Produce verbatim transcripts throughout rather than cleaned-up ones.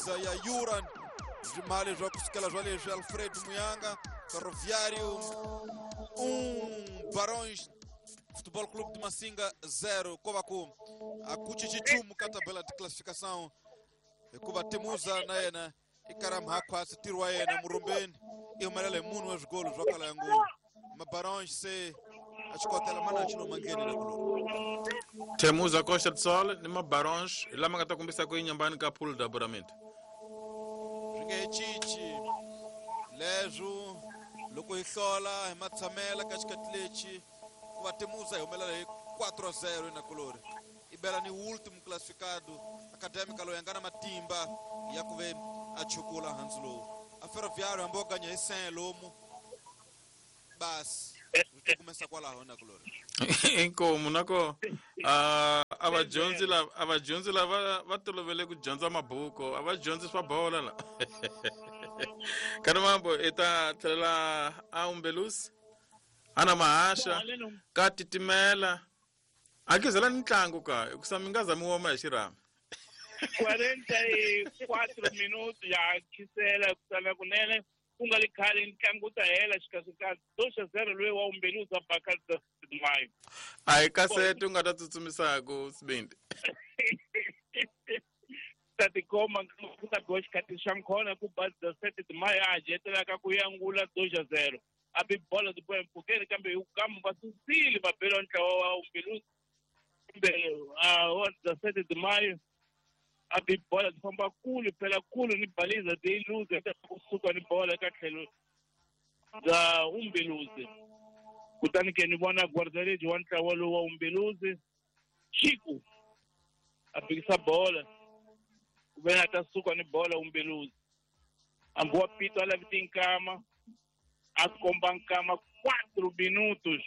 baliza ya Yuran swimali swa kusukela swa leswi Alfred Muyanga Ferroviário um Barões Futebol Clube de Massinga zero ko va ku a ku cinci nchumu ka tabela de classificação hikuva Temuza na yena i karamhakhwasi ntirho wa yena murumbeni i humelela hi munhu wa swigolo swa kala ya ngulu Mabarões se a xikotela mana xi lomu ndleni na kuloni Temuza Costa do Sol ni Mabarões hi lama nga ta kombisa ku yinyambani ka pool da apuramento swi nge he cinci leswo loko hi hlola hi matshamela ka xikati lexi ku va Temuza hi humelela hi quatro a zero nakulori i bela ni último classificado Académica loyi a nga na matimba ya ku ve a chukula handzu lowu a Ferroviário hambi wo ganya hi sen lomu basi swi tikumesa kwalaho nakulori inkomu nako a a vadyondzi lava a vadyondzi lava va tolovele ku dyondza mabuku a va dyondzi swa bola la kanimambo i ta tlhelela a Umbelusi ana mahasha ka titimela a kizela ni ntlangu ka hikusa mi nga za mi woma hi xirhami quarenta e quatro minutos ya khisela kusala kunene ku nga ri khale ntlangu wu ta hela xikasikasi dois a zero loyi wa Umbeluzi a baka mayo a hi kasete u nga ta tsutsumisaku sibindi ta tikoma ku ta biwa xikati xa nkhona ku ba sete mayo a hajetelaka ku yangula dois a zero a bi bola ti boya mpfhukeni kambe hi kamu va susile va bela ntlawa wa Umbeluzi kumbe wa sete mayo a bi bola ti famba kule phela kule ni baliza ti luze kusuka ni bola eka tlhelo bya Umbeluzi kutani ke ni vona guardaredi wa ntlawa lowu wa Umbeluzi Chico a bikisa bola ku ve a ta suka ni bola Umbeluzi hambi wa pito a lavi tinkama a komba nkama quatro minutos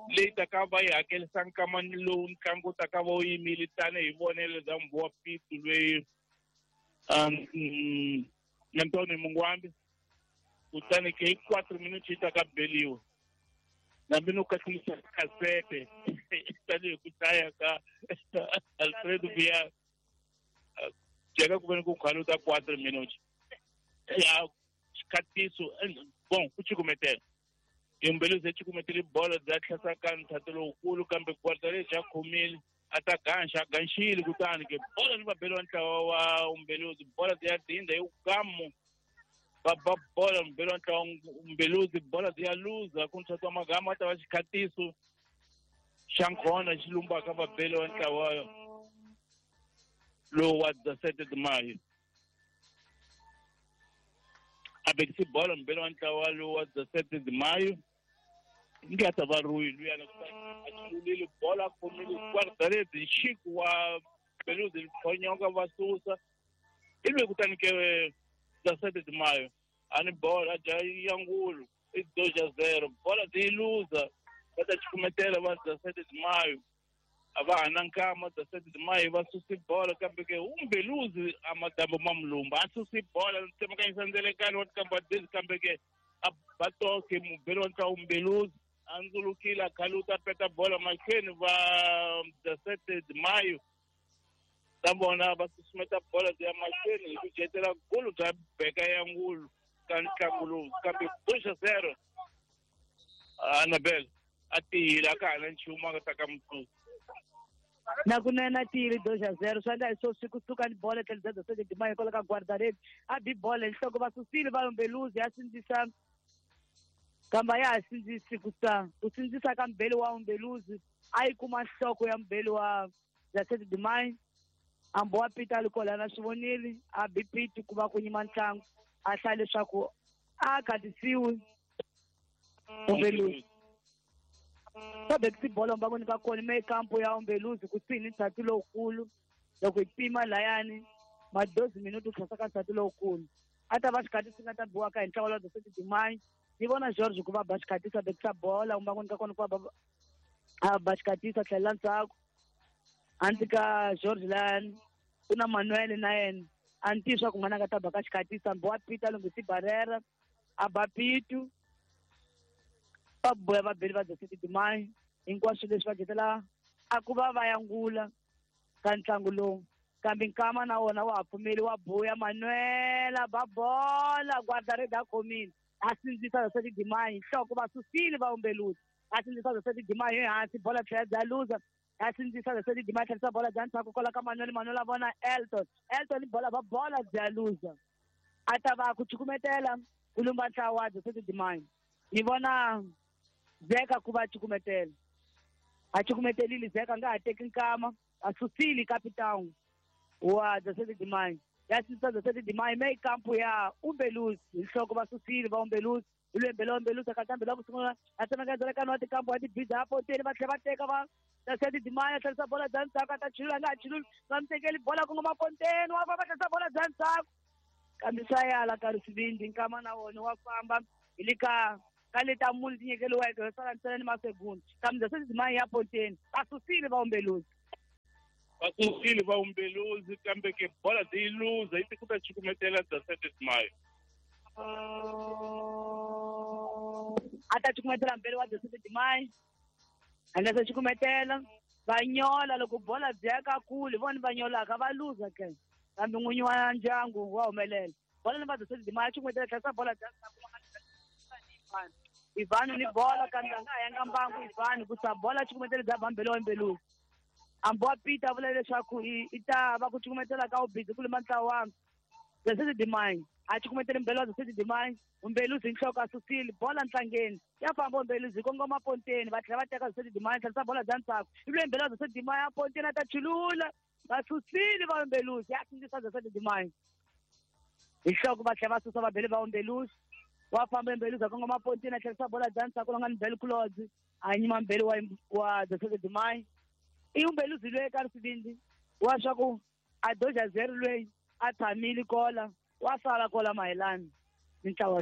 leyi ta ka va yi hakelisa nkama lowu ntlangu wu ta ka va wu yimile tanihi vonelo bya mbu wa pitu loyi um Antônio Mungwambi kutani ke hi quatro minutos yi ta ka beliwa nambi no kahlulisa kasete tanihi ku hlaya ka Alfredo Via jeka ku veni ku khaluta quatro minutos ya xikhatiso bon ku cukumetela Umbeluzi yi cukumetele bola bya tlhasaka nthati lowukulu kambe guardaredi a khomile a ta ganxa a ganxile kutani ke bola ni va beliwa ntlawa wa Umbeluzi bola ti ya dinda hi gamu va ba bola mubeli wa ntlawa Umbeluzi bola ti ya luza ku nthati wa magama a ta va xikhatiso xa nkhona xi lumbaka vabeli wa ntlawa lowu wa sete de maio a bekisi bola mubeli wa ntlawa lowu wa sete de maio nge a ta va ruyi luyana a chululile bola a khomile guardaredi Chico wa Beluzi khonyoka va susa ivi kutani ke sete de maio a ni bola a dya yangulu i dois a zero bola ti yi luza va ta cukumetela va sete de maio a va ha na nkama sete de maio va susi bola kambe ke Umbeluzi a madambo ma mulumba a susi bola tsemakanyisa ndzelekani wa tikamba dezi kambe ke a ba toke mubeli wa ntlawa Umbeluzi a ndzulukile a khaluta a peta bola mahlweni va sete de maio ta vona va susumeta bola ti ya mahlweni hi ku jetela gulu bya beka ya ngulu ka ntlangu lowu kambe dois a zero Annabel a tiyile a ka ha na nchumu a nga ta ka mutsusa na kunene a tiyile dois a zero swi endla hi swo swi kusuka ni bola tlhelo bya sete de maio kwala ka guardaredi a bi bola hi nhloko va susile va Umbeluzi ya sindzisa kambe a ya ha sindzisi ku sa ku sindzisa ka mubeli wa Umbeluzi a yi kuma nhloko ya mubeli wa sete de maio hambi wa pita a li kwalana swi vonile a bi piti ku va ku yima ntlangu a hlaya leswaku a khatisiwi Umbeluzi va bekisi bolo mbangoni ka kona me kampo ya Umbeluzi kusuhi ni ndzhati lowukulu loko hi pima layani madozi minuto tlhasa ka ndzhati lowukulu a ta va xikhatisi nga ta biwaka hi ntlawa wa sete de maio ni vona George ku va ba xikhatisi a bekisa bola mbangoni ka kona ku va a ba xikhatisi a tlhelela ndzhaku hansi ka George layani ku na Manuel na yena a ni tivi swa ku n'wana a nga ta ba ka xikhatisi hambi wa pita a lunghisi barera a ba pitu va boya vabeli va sete de maio hinkwaswo leswi va jetela a ku va va yangula ka ntlangu lowu Kambe nkama na wona wa ha pfumeli wa buya Manuela ba bola guarda-rede a khomile a sindzisa Zesete de Maio nhloko va susile va Umbeluzi a sindzisa Zesete de Maio ehansi bola tlhela bya luza a sindzisa Zesete de Maio tlherisa bola bya ndzhaku kwala ka Manuel Manuel a vona Elton Elton bola va bola bya luza a ta va ku cukumetela ku lumba ntlawa wa Zesete de Maio ni vona Zeka ku va cukumetela a cukumetelile Zeka nga ha teki nkama a susile capitão wa Zesete de Maio ya sindzisa Zesete de Maio me kampo ya Umbeluzi nhloko va susile va Umbeluzi ulwembe la Umbeluzi akatambe la ku sungula a tsemaka ka nwa tikampo wa tibiza a poteni va tlhela va teka va Zesete de Maio tlherisa bola bya ndzhaku a ta chulula nga ha chululi va mi tekeli bola ku nga maponteni wa famba tlherisa bola bya ndzhaku kambe swa yala ka risivindi nkama na wona wa famba hi le ka ka leta muni ti nyikeliweke yo sala ntsena ni masegundi kambe Zesete de Maio ya ponteni va susile va Umbeluzi va susile va Umbeluzi kambe ke bola yi luza yi ku ta cukumetela Zesete de Maio a ta cukumetela mbele wa Zesete de Maio a nga se cukumetela va nyola loko bola byi ya ka kule vona va nyolaka va luza ke kambe n'winyi wa ndyangu wa humelela bola ni va Zesete de Maio cukumetela tlherisa bola bya Ivano ni bola kambe a nga ha yanga mbangu Ivano ku sa bola cukumetela bya bambele wa Umbeluzi ambo wa Peter a vula leswaku i ta va ku cukumetela ka ubizi ku luma ntlawa wa Zesete de Maio a cukumetele mbele wa Zesete de Maio Umbeluzi nhloko a susile bola ntlangeni ya famba Umbeluzi kongoma ponteni va tlhela va teka Zesete de Maio tlherisa bola bya ndzhaku ivi mbele wa Zesete de Maio a ponteni a ta chulula va susile va Umbeluzi ya sindzisa Zesete de Maio hi nhloko va tlhela va susa vabele va Umbeluzi wa famba Umbeluzi a kongoma ponteni a tlherisa bola bya ndzhaku la nga ni Mbele Kulodzi a nyima mbele wa wa Zesete de Maio i Umbeluzi loyi ka risivindi wa swa ku a doja zero loyi a tshamile kola wa sala kola mayelana ni ntlawa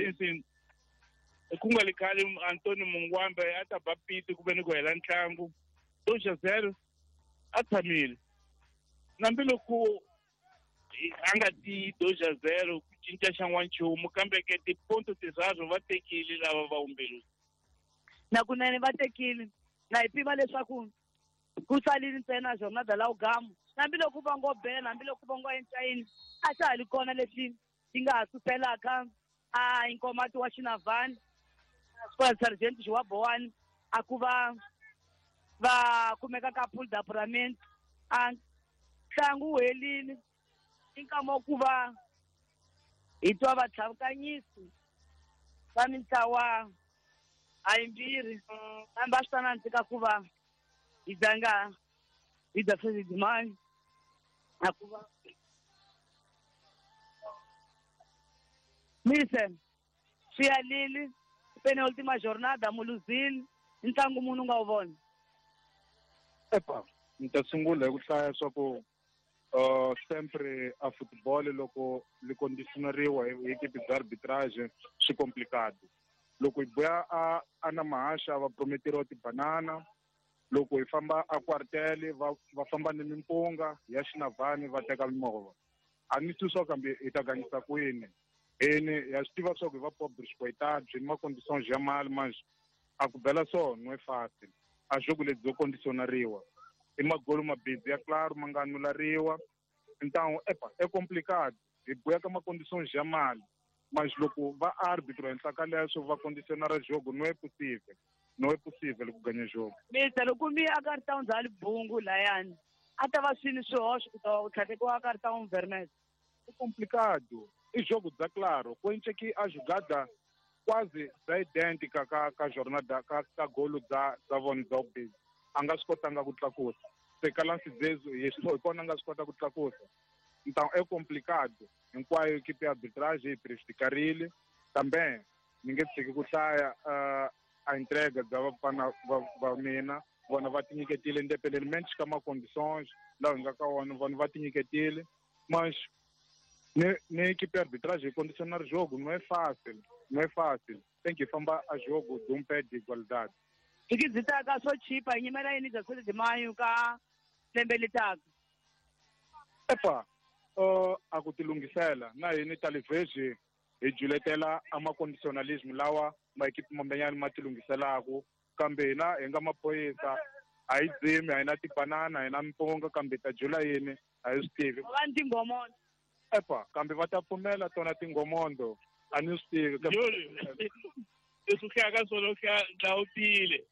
ku nga li khale Antoni Mungwambe a ta ba piti ku ve ni ku hela ntlangu doja zero a tshamile nambiloko a nga ti doja zero ku cinca xa n'wanchumu kambe ke tiponto tinharhu va tekile lava va Umbeluzi na kunene va tekile na hi pima leswaku ku salile ntsena jornada la ugamu hambiloko va ngo bela hambiloko va ngo encayini a xa ha li kona lexi xi nga ha suselaka a inkomati wa Xinavani Squad Sergeant Xiwa Bowani a ku va va kumeka ka pool d'apuramento a ntlangu wu helile i nkama wa ku va hi twa vatlhavukanyisi va mintlawa a yimbirhi kambe a swi ta nandzika ku va hi dzanga hi Zesete de Maio a ku va mise swi yalile penultima jornada muluzile ntlangu munhu nga wu vona epa ni ta sungula hi ku hlaya swa ku uh sempre a football loko li conditionariwa hi equipe bya arbitrage swi complicado loko hi buya a a na mahasha va prometeriwa tibanana loko hi famba a quartel va va famba ni mimpunga ya Xinavani va teka mimovha a ni twi swa kambe hi ta gangisa kwini ene ya swi tiva swa ku hi va pobre xikwetadi ni ma-conditions ya mali manje a ku bela so no e fácil a jogo lebyi byo conditionariwa i magolo mabidzi ya claro ma nga anulariwa então epa é complicado hi buya ka ma-conditions ya mali mas loko va arbitro henhla ka leswo va condicionara jogo no é possível não é possível ku ganha jogo mister loko mi a cartão dza libungu layani a ta va swini swihoxo ku ta tlhatekiwa cartão vermelho é complicado i jogo dza claro kwence que a jogada quase dza idêntica ka ka jornada ka ka golo dza dza vona dza ubhizi a nga swi kotanga ku tlakusa se ka lance zezo hi swi kona a nga swi kota ku tlakusa então é complicado hinkwayo equipe ya arbitrage yi prejudicarile kambe ni nge tshiki ku hlaya uh, a entrega bya vafana va va mina vona va tinyiketile independentemente ka ma-conditions lawa hi nga ka wona vona va tinyiketile mas ni ni equipe ya arbitrage yi condicionar jogo não é fácil não é fácil tem que famba a jogo de um pé de igualdade Thikithi taka swo chipa hi nyimela yini Zesete de Maio ka lembe letaka epa uh, a ku tilunghisela na hini talivhezi hi juletela a ma-conditionalism lawa maekipi mambenyani ma tilunghiselaku kambe hina hi nga maphorisa a hi dzimi a hi na tibanana a hi na mpunga kambe hi ta jula yini A hi swi tivi. Va ni tinghomondo. Epa, kambe va ta pfumela tona tinghomondo. A ni swi tivi. Leswi hlaya swona u hlaya dlawutile.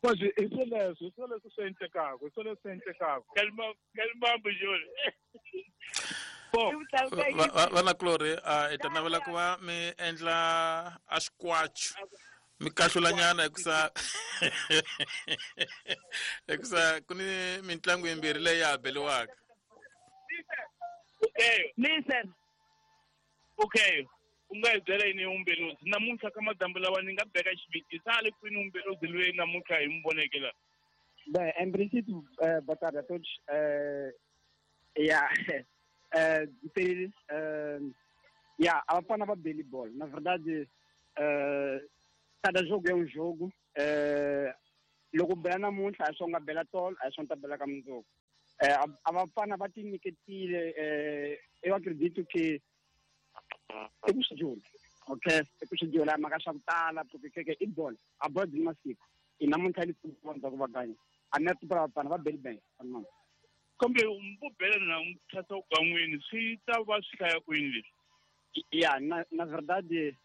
Manje i swoleswo, i swoleswo swi endlekaka, i swoleswo swi endlekaka. Kalibambu Jole. Vanakulorhi hi ta navela ku va mi endla a xikwacho mi kahlulanyana hikusa hikusa ku ni mitlangu yimbirhi leyi ya ha beliwaka. Okay. Listen. Okay. U nga hi byela yini Umbeluzi namuntlha ka madyambu lawa ni nga beka xiviti sa le kwini Umbeluzi loyi namuntlha hi mu voneke la? Bem, em princípio, uh, boa tarde a todos. Uh, yeah. Uh, uh, yeah, a Bafana va beli bola. Na verdade, uh, cada jogo é um jogo. Uh, loko bela namuntlha a swi nga bela tolo, a swi ta bela ka mundzuku. Uh, a Bafana va tinyiketile. Uh, eu acredito que i ku swi dyula, okay? I ku swi dyula mhaka swa ku tala, porque que i bola, a bola byi masiku. I namuntlha li ku va ganya. A ni tiva Bafana va beli bem. Kambe vo bela na tlhasa kan'wini swi ta va swi hlaya kwini leswi? Ya, na na verdade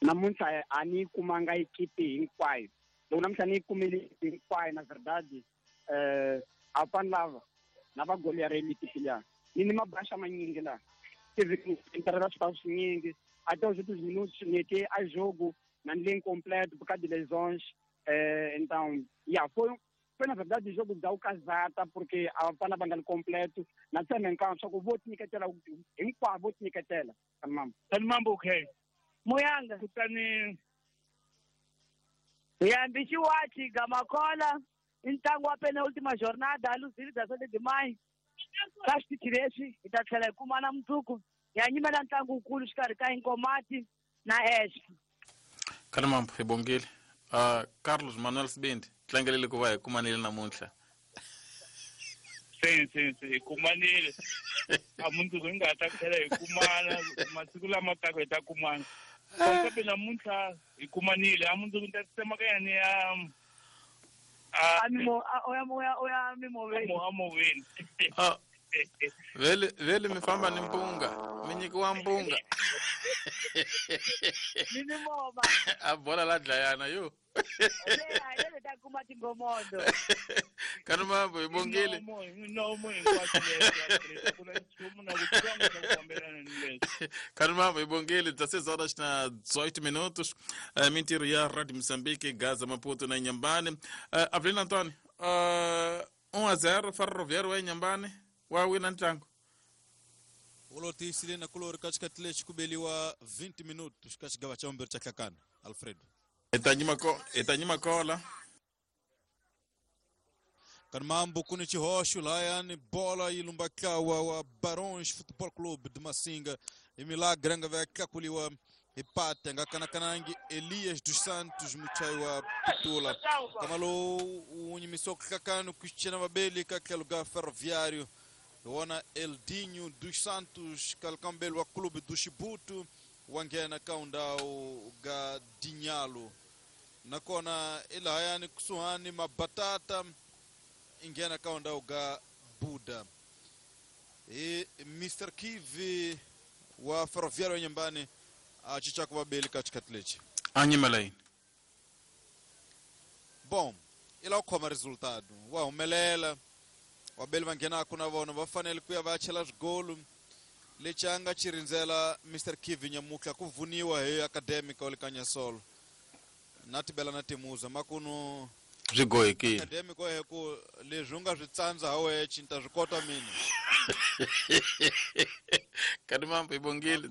namuntlha a ni kumanga ekipi hinkwayo. Loko namuntlha ni yi kumile hinkwayo, na verdade eh a fana lava na va goli ya reli ekipi liya. Ni ni mabasha manyingi la. Tive que entrar nas swinyingi até os últimos minutos meti a jogo na linha completo por causa de lesões. Eh, então, yeah, foi foi na verdade o jogo da Ukazata porque a Bafana bangali completo na tsena nka swa ku vo tinyiketela hinkwavo vo tinyiketela kanimambo. Kanimambo okay. Muyanga kutani yambi xiwachi Gamakola i ntlangu wa penultima jornada a luzile dezessete de maio ka xitichi lexi hi ta tlhela hi kumana mundzuku hi ya nyimela ntlangu wukulu xikarhi ka Inkomati na Expo. Kanimambo hi bongile. Uh, Carlos Manuel Sibindi tlangelele ku va hi kumanile namuntlha. Se se se hi kumanile. A mundzuku hi nga ta tlhela hi kumana masiku lama taka hi ta kumana. Kambe namuntlha hi kumanile. A mundzuku ni ta tsemakanya ni ya a mimo oya oya oya mimoveni. A moveni. Ah. Vele vele mi famba ni mpunga, mi nyikiwa mpunga. Ni ni mova. A bola la dlayana yo. Le ta kuma tingomondo. Kanimambo hi bongile. No mo hinkwaswo leswi ku na nchumu na ku tlanga ku fambelana ni leswi. Kanimambo hi bongile dezesseis horas na dezoito minutos. Uh, mintirho ya Rádio Moçambique, Gaza, Maputo na Inhambane. Uh, Avelino Antônio, uh, um a zero Ferroviário wa Inhambane. Wa wina ntlangu. Ulotisile na kulori katikati lexi ku beliwa vinte minutos ka xigava xa vumbirhi xa Hlakana Alfredo. Hi ta nyima kola. Kanimambo ku ni xihoxo lahayani bola yi lumba ntlawa wa Barões Futebol Clube de Massinga. I Milagre nga va tlakuliwa hi pate a nga kanakanangi Elias dos Santos muchayi wa Pitula. Kama lowu wu nyimisiwa ku Hlakana Cristiano Mabeli ka tlhelo ka Ferroviário. Wona Eldinho dos Santos kalkambelo wa Clube do Chibuto wa nghena ka undhawu ga Dinhalo. Nakona i lahayani kusuhani Mabatata i nghena ka undhawu ga Buda. I Mister Kivi wa Ferroviário Inhambane a cinca ku vabeli ka xikhathi lexi. A nyimela yini? Bom, i lava ku khoma resultado. Wa humelela. Vabeli va nghenaka na vona va fanele ku ya va ya chela swigolo. Lexi a nga xi rindzela Mister Kivi nyamutlha ku vuniwa hi Academic wa le ka Nyasolo. Na tibela na timuza makunu swi gohekile. Academic wa he ku leswi u nga swi tsandza ha wexe ni ta swi kota mina. Kanimambo hi bongile.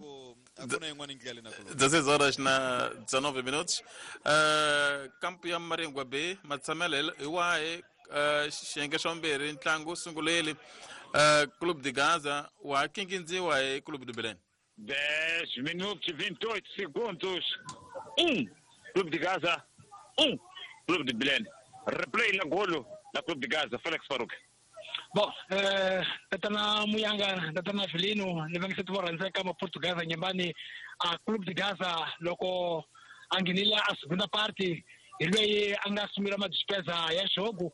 A ku na yin'wana ndlela na ku. dezesseis horas na dezenove minutos. Uh, kampo ya Maringwa B matshamelo hi wahi? Uh, xiyenge xa vumbirhi ntlangu wu sungulile. Uh, Clube de Gaza wa kingindziwa hi Clube do Belém. dez minutos e vinte e oito segundos. Um Clube de Gaza, um Clube de Belém. Replay na golo na Clube de Gaza, Felix Farouk. Bom, eh, tatana Muyanga, tatana Felino, ni va nge se kama Portugaza nyumbani a Clube de Gaza loko a nghenile a segunda parte hi loyi a nga sungula madispesa ya jogo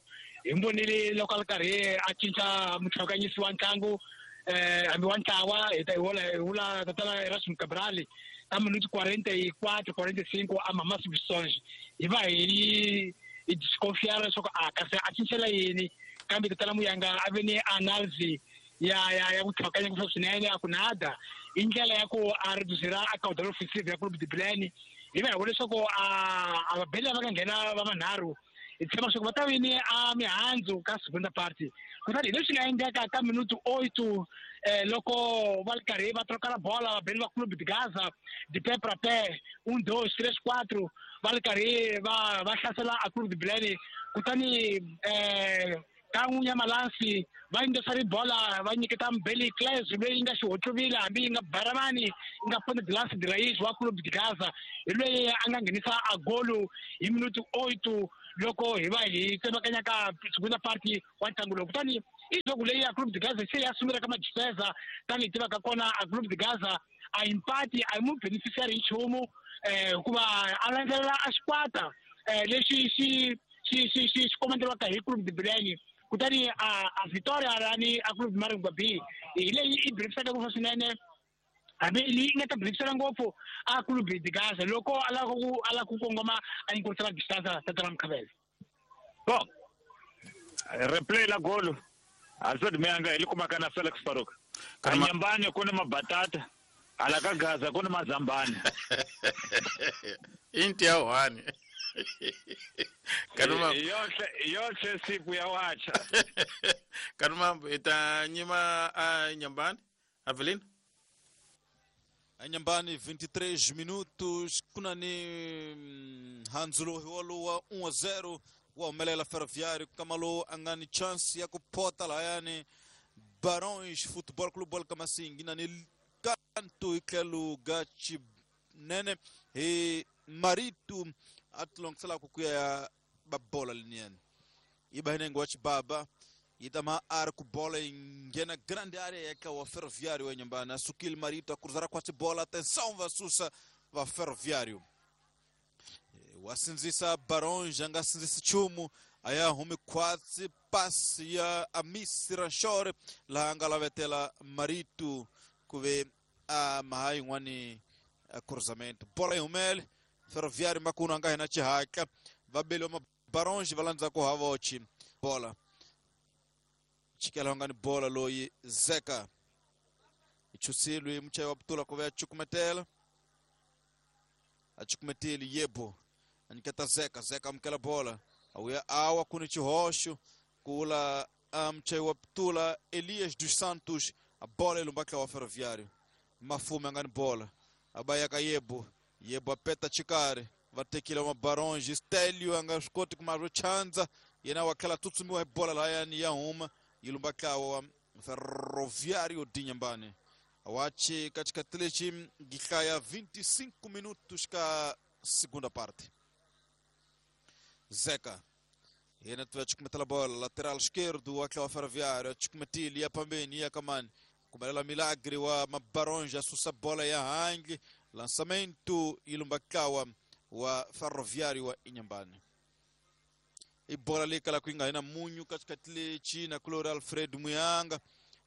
Hi vonile loko a ri karhi a cinca mutlhakanyisi wa ntlangu eh hambi wa ntlawa hi ta hi vula hi vula tatana Erasmus Cabral ka minuto quarenta e quatro quarenta e cinco a mama substituições hi va hi hi desconfiar leswaku a kasi a cincela yini kambe tatana Muyanga a ve ni analysis ya ya ya ku tlhakanya ku swinene a ku nada i ndlela ya ku a reduzira a caudal offensive ya Clube de Bilene hi va hi vona leswaku a a vabeli lava nga nghena va manharhu hi tshemba leswaku va ta vini a mihandzu ka segunda parte kutani hi leswi nga endleka ka minuto oito eh, loko va ri karhi va trokala bola vabeli va Clube de Gaza de pé para pé um dois três quatro va ri karhi va va hlasela a Clube de Bilene kutani eh, ka n'winyi ya malansi va yingisari bola va nyiketa Mbeli Claes loyi nga xihotluvile hambi yi nga baramani yi nga ponta de lance de raiz wa Clube de Gaza hi loyi a nga nghenisa a golo hi minuto oito loko hi va hi tsemakanya ka segunda parte wa ntlangu lowu kutani i jogo leyi ya Clube de Gaza se ya sungula ka madifeza tanihi tivaka kona a Clube de Gaza a empate a yi mu beneficiary hi nchumu eh hikuva a landzelela a xikwata eh lexi xi xi xi xi xi komanderiwaka hi Clube de Bilene kutani a a Victoria lani a Clube de Maringwa B hi leyi i beneficiaka ngopfu swinene hambi leyi nga ta beneficiara ngopfu a Clube de Gaza loko a lava ku a lava ku kongoma a inkurisela distance tatana Mkhabela. Bom, replay la golo Alfred Muyanga hi li kumaka na Felix Farouk. Kanyambani ku ni mabatata hala ka Gaza ku ni mazambani. Inti ya one. Kanuma yohle yohle siku ya wacha. Kanuma ita nyima a Nyambani Avelino. Anhambane vinte e três minutos kunani Hanzulo hiwalo um a zero wa Melela Ferroviário Kamalo angani chance ya kupota la yani Barões Futebol Clube Kamasingi nani kanto ikelu gachi nene e Marito atlongisela kukuya babola liniani ibahinengo wachi baba itama arco bola ingena grande área que o Ferroviário em Nhambane Sukil Marito a cruzar a bola atenção va susa va Ferroviário wasinzisa Barões anga sinzisa chumu aya humi kwatsi passe ya Amisi Ranchore la anga la vetela Marito kuve a mahai ngwani cruzamento bola ihumele Ferroviário makuna anga hina chihaka vabelo ma Barões valanza ko havochi bola chikela ngani bola loyi Zeka ichusilwe mchayi wa Butula kuve chukumetela achukumeteli yebo aniketa Zeka Zeka amkela bola awuya awa kuni chihosho kula mchayi wa Butula Elias dos Santos a bola ilumbakla wa Ferroviário Mafume ngani bola abaya ka yebo yebo apeta chikare vatekile ma Barões Stélio anga skoti kumaro chanza yena wakhala tutsumiwa bola la yani ya huma ilumbakla wa Ferroviário de Inhambane awache katika telechi gikhaya vinte e cinco minutos ka segunda parte Zeca yena tuwa bola lateral esquerdo aquela Ferroviário chukumetili ya pambeni ya kamani kubalela Milagre wa Mabaronja susa bola ya hangi lançamento ilumbakawa wa Ferroviário wa Inhambane e bola likala kuinga ina munyu katika telechi na kulora Alfred Muyanga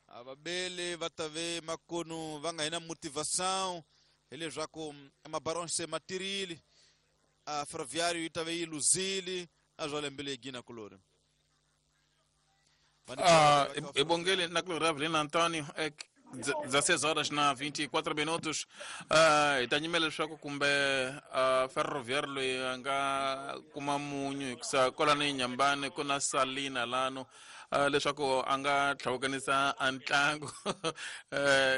ababele vatave makono vanga ina motivação ele já com Mabaronja se matirile a Ferroviário itave iluzile azolembele gina kulora. Ah, ebongele na kulora Avelino Antônio é dezesseis horas na vinte e quatro minutos. Ah, itanyimele leswaku kumbe Ferroviário loyi a nga kuma munyu hikusa kwalano Inhambane ku na Salina lano leswaku a nga tlhawukanisa a ntlangu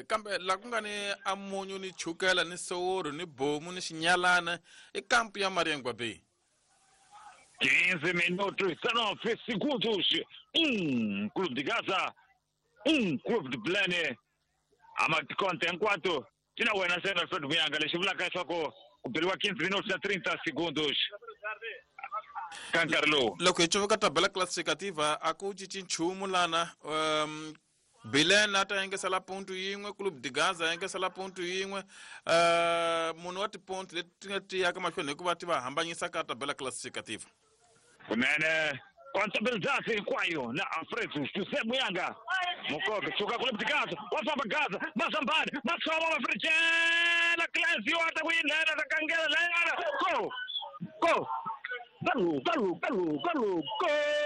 kambe la ku nga ni a munyu ni chukela ni soworo ni bomu ni xinyalana i kampu ya Mariangwa Bay. quinze minutos, dezenove segundos. Um Clube de Gaza, um Clube de Bilene. Amakonte enquanto tina wena sena Alfred Muyanga lexi vulaka leswaku ku beriwa quinze minutos na trinta segundos ka nkarhi lowu. Loko hi cuvuka tabela classificativa a ku cinci nchumu lana um, Bilene a ta yengesela ponto yin'we Clube de Gaza a yengesela ponto yin'we uh, munhu wa tiponto leti ti nga tiyaka mahlweni hikuva ti va hambanyisa ka tabela classificativa. Kunene Contabilidade hinkwayo na Alfredo José Muyanga. Mukobe suka kule de Gaza, wa famba Gaza, Mazambani, Matsoma Mafricela, Clésio ata ku yinghena ta kangela layana. Go! Go! Galo, galo, galo, galo, go!